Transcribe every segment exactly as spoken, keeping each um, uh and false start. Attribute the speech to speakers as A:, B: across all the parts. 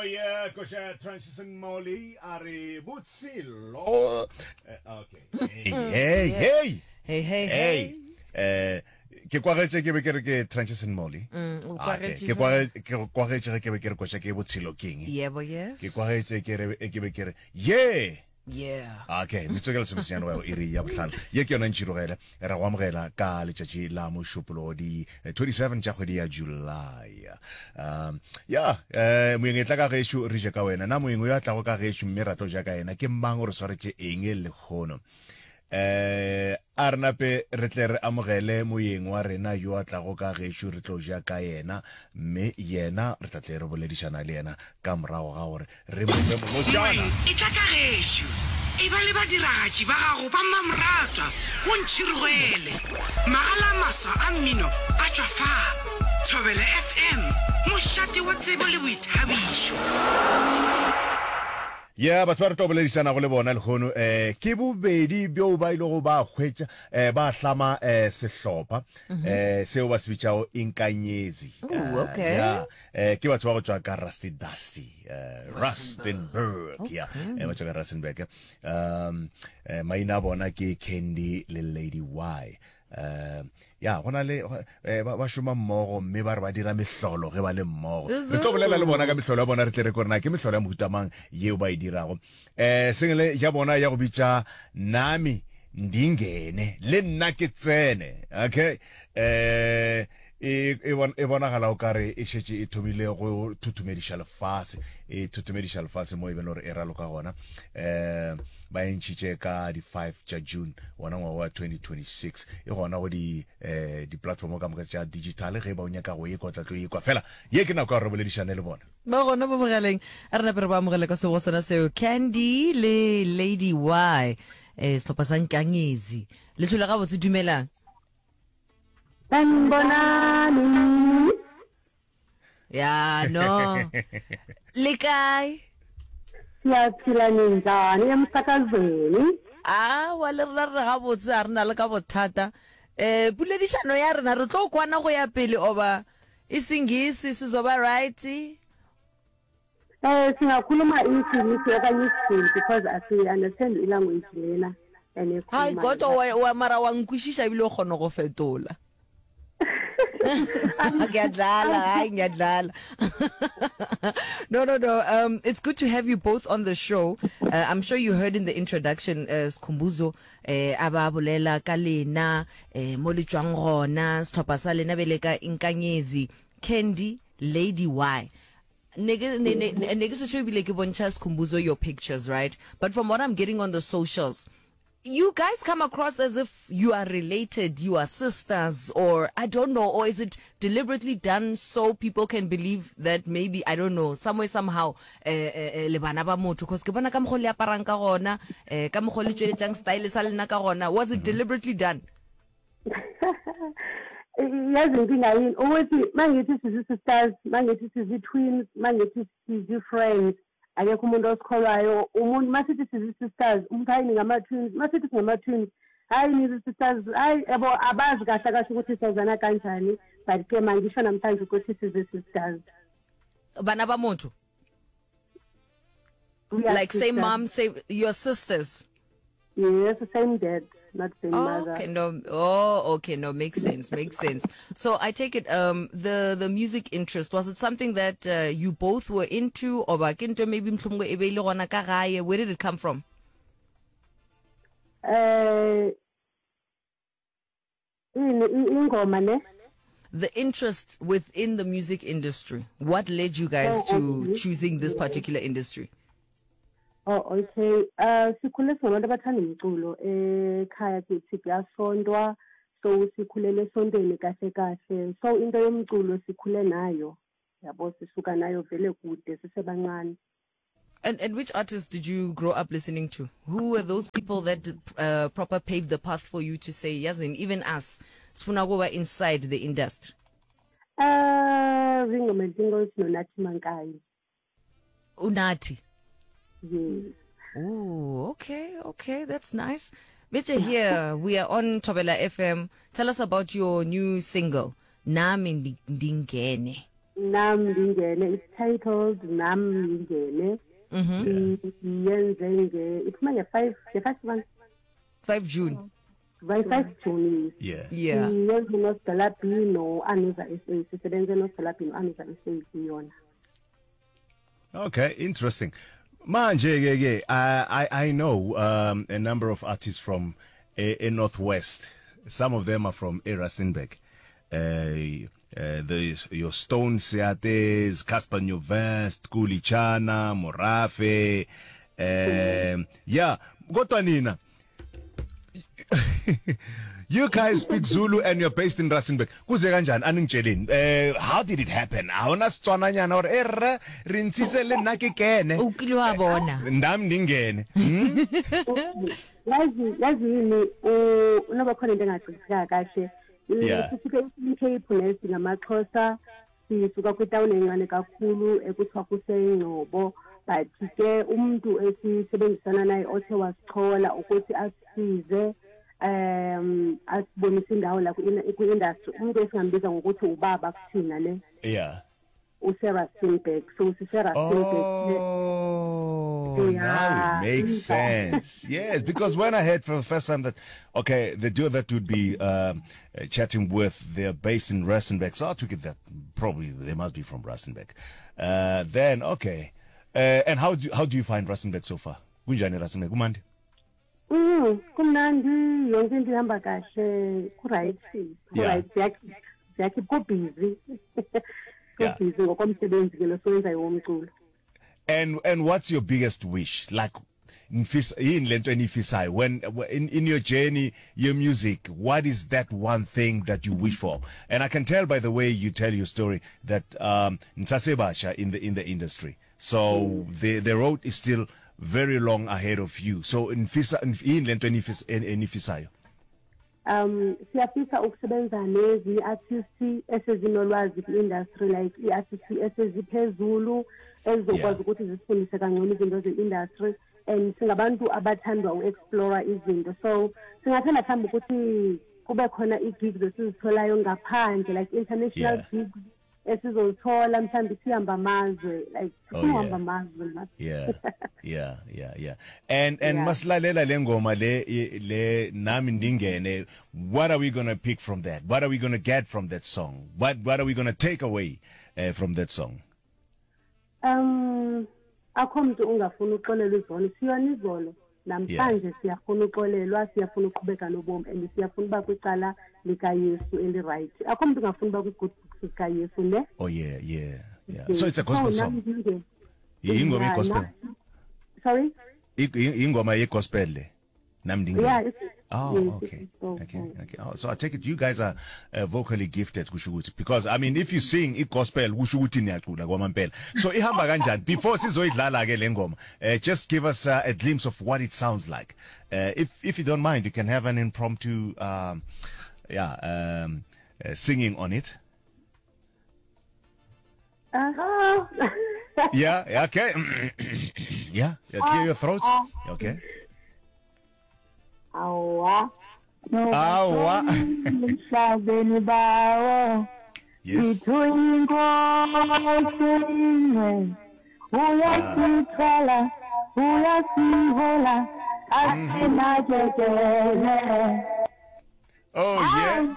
A: Oh yeah, koša Transition Molly a re botshelo. Eh, okay. Hey, hey, hey.
B: Hey, hey,
A: Hey.
B: hey.
A: Eh, ke kwagetše ke be ke re ke Transition Molly.
B: Mm, o
A: Ah, okay.
B: kwagetše
A: Ke
B: jwang?
A: kwagetše ke kwagetše ge ke be ke re koša ke botshelo keng.
B: Yebo, yes.
A: Ke kwagetše ke re ke be ke re yeah.
B: Yeah.
A: Okay, metsotso ke lesomesenyane go ya go iri ya bohlano. Ye ke yona ntšhirogele re go amogela ka letšatši la mošupologo di eh, twenty-seven tša kgwedi ya July. Um, ya, eh, moeng e tla ka gešo re je ka wena. Na moeng yo a tlago ka gešo mme ra tlo ja ka yena ke mang, o re swaretše eng lehono? Eh, a re nape re tle re amogele moeng wa rena yo a tlago ka gešo re tlo ja ka yena, mme yena re tla tle re boledišana le yena ka morago ga gore re mo fe molotšana.
C: Moeng e tla ka gešo, e ba le badiragatši ba gago ba mmamoratwa go Ntšhirogele. Magala a maswa a mmino a tšwa fa. Thobela F M, mošate wa tsebo le boithabišo.
A: Ya, batho ba re tlo boledišanago le bona lehono eh ke bobedi bjo ba ilego ba hwetša eh ba hlama eh sehlopha eh seo ba se bitšago Inkanyezi.
B: Ooh,
A: Eh,
B: okay.
A: ya, eh ke batho ba go tšwa ka Rusty Dusty, eh Rustenburg, ya, eh ba tšwa ka Rustenburg. Um eh, maina a bona ke Candy le Lady Y. Eh ya, go na le eh, ba ba šoma mmogo mme ba re ba dira mehlolo ge ba le mmogo. Re tlo bolela le bona ka mehlolo ya bona, re tle re kore na ke mehlolo ya mohuta mang yeo ba e dirago. Eh single ya bona ya go bitša Nami Ndingene le nna ke tsene. Okay. Eh e e bon- e bonagala o kare e šetše e thomile go thuthumediša lefase, e thuthumediša lefase mo e beng gore e raloka gona. Eh ba e ntšhitše ka di five tša June wona ngwaga wa twenty twenty-six, e gona go di eh di-platform ka moka tša digital. Ge ba o nyaka go ekwa, o tla tlo ekwa fela. Ye ke nako ya gore re boledišane le bona.
B: Ba gona mo mogaleng, a re nape re ba amogele ka sebo sona seo, Candy le Lady Y, eh sehlopha sa Nkanyezi. Le tlhole gabotse, dumelang.
D: Sanibonani.
B: Ya, no le kae?
D: Siyaphila, ninjani emsakazweni?
B: Awa, le rena re gabotse, a re na le ka bothata. um poledišano ya rena re tlo kwana go ya pele oba isingisi sizoba right?
D: Eh singakhuluma isiNgisi okanye isiZulu because asi understand ilanguage lena
B: hai.
D: Enikhulumayo.
B: Kodwa wa, wa mara wa nkwešiša ebile o kgona go fetola. Ngiyadlala, hayi, ngiyadlala. no no no um it's good to have you both on the show. uh, i'm sure you heard in the introduction, uh, Skhumbuzo eh aba bolela ka lena, eh mo le tswang gona, sehlopha sa lena bele ka Inkanyezi, Candy, Lady Y. Ne ke ne ne ne ke setsho ebile ke bontšha Skhumbuzo your pictures, right? But from what I'm getting on the socials, you guys come across as if you are related, you are sisters, or I don't know, or is it deliberately done so people can believe that maybe, I don't know, somewhere somehow eh eh le bana ba motho? Because ke bona ka mokgo le aparang ka gona, eh ka mokgo le tšweletsang style sa lena ka gona. Was it deliberately done?
D: Yazi inkinga yini? Ukuthi mangithi sizi-sisters, mangithi sizi-twins, mangithi sizi-friends, akekho umuntu osikholwayo. Umuntu masithi sizi-sisters, umuntu, "Hayi, ningama-twins." Masithi singama-twins, "Hayi, nizi-sisters." Hayi yabo, abazi kahle kahle ukuthi sazana kanjani, but ke mangisho namhlanje ukuthi sizi-sisters.
B: Bana ba motho?
D: We are
B: Like same
D: sisters.
B: mom, same, your sisters?
D: Yes, same dad, not same
B: Oh,
D: mother.
B: okay, no. Oh, okay, no, makes sense, makes sense. So I take it, um, the the music interest, was it something that uh, you both were into, or ba ke ntho maybe mohlomongwe e be e le gona ka gae? Where did it come from?
D: eh ini i- ingoma ne?
B: The interest within the music industry. What led you guys
D: Oh,
B: to
D: okay.
B: choosing this particular industry?
D: Oh, okay. Uh sikhule singabantu abathanda umculo. Ekhaya kithi kuyasontwa, so sikhulele esontweni kahle kahle. So into yomculo sikhule nayo. Yabo, sisuka nayo vele kude sisebancane.
B: And and which artists did you grow up listening to? Who were those people that uh, proper paved the path for you to say, yazin, even us, sifuna kuba inside the industry?
D: Uh Ringo Madlingozi noNathi Mankayi.
B: Unathi.
D: Yes.
B: Ooh, okay, okay, that's nice. Better here, we are on Thobela F M. Tell us about your new single, Nami Ndingene.
D: Nam Ndingene. It's titled Nam Ndingene.
B: Mhm.
D: Yenze nge iphuma nge-five nge-five months
B: five June.
D: By five June.
A: Yeah.
B: Yeah.
D: Yenze noSdala B no-Anuza S A. Sisebenze noSdala B no-Anuza S A kuyona.
A: Okay, interesting. Manje ke ke I I I know um a number of artists from a, a Northwest. Some of them are from Rustenburg. Uh, uh, the your Stone Seates, Cassper Nyovest, Khuli Chana, Morafe. Um yeah, kodwa nina You guys speak Zulu and you're based in Rustenburg. Kuze kanjani aningitsheleni? Eh how did it happen? Awuna Setswananyana or eh re re ntshitse le nna ke kene.
B: O kile wa bona.
A: Ndami ndingene. Hmm?
D: Yazi yazi yini unoba khona into engaqiniseka kahle.
A: Yeah.
D: Sisuke e-Eastern Cape nesi ngamaXhosa sisuka kwitawuni encane kakhulu ekuthiwa kuseNgcobo, but ke umuntu esisebenzisana naye othe wasichola ukuthi asisize um asibonise indawo la kwi-industry, umuntu esingambiza ngokuthi ubaba kuthina ne
A: Yeah.
D: useRustenburg, so siseRustenburg.
A: Oh,
D: Yeah.
A: now it makes sense. Yes, because when I heard for the first time that, okay, the duo that would be um, uh, chatting with, they're based in Rustenburg, so I took it that probably they must be from Rustenburg. Uh, then, okay. Uh, and how do, how do you find Rustenburg so far? Kunjani Rustenburg? Kumandi?
D: Mm, kumnandi, yonke into ihamba kahle, ku-right,
A: Yeah.
D: ku-right, siyakhipha, siyakhipha, ku-busy.
A: Yeah.
D: Ku-busy ngokomsebenzi ke lo siwenzayo womculo.
A: And and what's your biggest wish? Like nifisa yini lento enifisayo when in in your journey, your music, what is that one thing that you wish for? And I can tell by the way you tell your story that um nisasebasha in the in the industry. So the the road is still very long ahead of you. So nifisa yini lento enifisa enifisayo?
D: Um siyafisa ukusebenza nezinye artists esezinolwazi kwi-industry, like i-artists eseziphezulu ezizokwazi
A: Yeah.
D: ukuthi zisifundise kangcono izinto ze-industry, and singabantu abathandwa u-explore izinto, so singathanda mhlawumbe ukuthi kube khona ii-gigs esizitholayo ngaphandle, like international
A: Yeah.
D: gigs esizozithola, mhlawumbe sihamba amazwe, like
A: Oh,
D: sifuna
A: yeah.
D: uhamba amazwe ma.
A: Yeah. Yeah, yeah, yeah. And and
D: Yeah.
A: masilalela le ngoma le le nami ndingene, what are we going to pick from that? What are we going to get from that song? What what are we going to take away uh, from that song?
D: Um akho mntu ungafuni uxolelwa izolo, siyona izolo namhlanje siyafuna uxolelwa, siyafuna uqhubeka nobomi and siyafuna uba kwicala likaYesu eli-right. Akho mntu ungafuni uba kwi-good books zikaYesu ne.
A: Oh yeah, yeah. Yeah. So it's a gospel
D: So,
A: song.
D: nami ndinge-
A: Ingoma
D: Yeah,
A: ye gospel.
D: na- Sorry?
A: Ingoma ye gospel le. Nami ndingene.
D: Yeah, it's,
A: Oh,
D: yes,
A: okay.
D: it's gospel.
A: Okay, okay. Oh, so I take it you guys are uh, vocally gifted kusho ukuthi, because I mean if you sing i gospel kusho ukuthi niyacula kwamampela. So ihamba kanjani before sizoyidlala ke le ngoma? Uh, just give us uh, a glimpse of what it sounds like. Uh, if if you don't mind, you can have an impromptu um yeah, um uh, singing on it.
D: Uh-huh.
A: Yeah, yeah, okay. Yeah, yeah, clear your throats. Okay.
D: Awa.
A: Awa.
D: Emhlabeni bawo.
A: Yes.
D: Ithu inkosi ingcwele. Uyasithwala, uyasihola, asinakekele.
A: Oh yeah.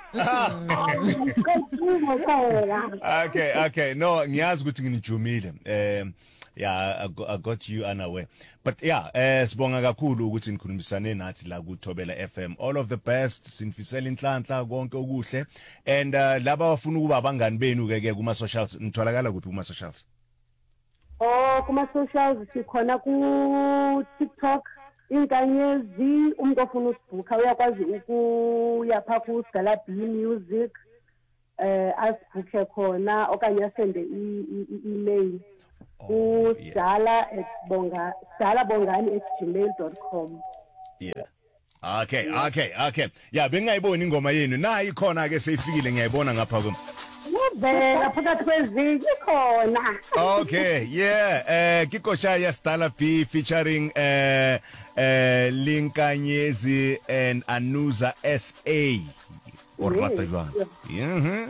A: Okay, okay. No, ngiyazi ukuthi nginijumile. Um yeah, I got, I got you unaware. But yeah, eh sibonga kakhulu ukuthi nikhulumisane nathi la ku Thobela F M. All of the best, sinifisela inhlanhla konke okuhle. And uh, laba abafuna ukuba abangani benu ke ke kuma socials, nitholakala kuphi kuma socials?
D: Oh, kuma socials sikhona ku TikTok, inkanyezi, umuntu ofuna usibhukha uyakwazi ukuya pha ku Sgala B Music, eh asibhukhe khona okanye asende i-email
A: Oh,
D: ku sdala at bonga sdala bongani at gmail dot com.
A: Yeah. Okay, okay, okay. Yeah, bengingayiboni ingoma yenu. Nayi ikhona ke seyifikile, ngiyayibona ngapha kum.
D: Uvela phakathi kwezinye ikhona.
A: Okay, yeah. Eh Kikosha ya Sdala B featuring eh eh Linkanyezi and Anuza S A. O rata jwang? Mhm.